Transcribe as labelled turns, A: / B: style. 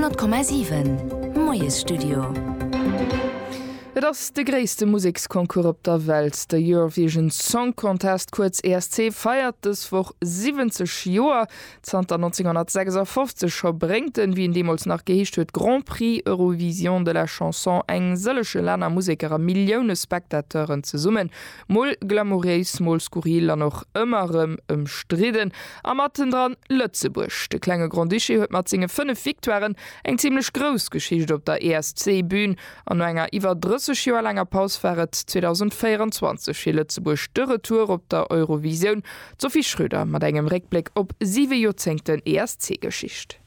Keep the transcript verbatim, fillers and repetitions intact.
A: Honnert Komma siwen, Moiesstudio.
B: Et ass de gréisste Museksconcours op der Welt, de Eurovision Song Contest, kuerz E S C, feiert dës Woch siwwenzeg Joer. Zanter nonzénghonnertsechsafofzeg scho bréngt den, wéi en deemools nach geheescht huet, Grand Prix Eurovision de la Chanson eng sëllege Länner, Museker a Millioune Spectateuren zesummen. Mol glamouréis, mol skurril an och ëmmer erëm ëmstridden. A mattendran Lëtzebuerg. De klenge Grand-Duché huet mat senge fënnef Victoiren eng zimmlech grouss Geschicht op der E S C-Bün. An no enger iwwer drësseg Joer laanger Paus war et zweedausendvéieranzwanzeg fir Lëtzebuerg de Retour op der Eurovisioun. D'Sophie Schröder mat engem Réckbléck op siwe Joerzéngten E S C-Geschicht.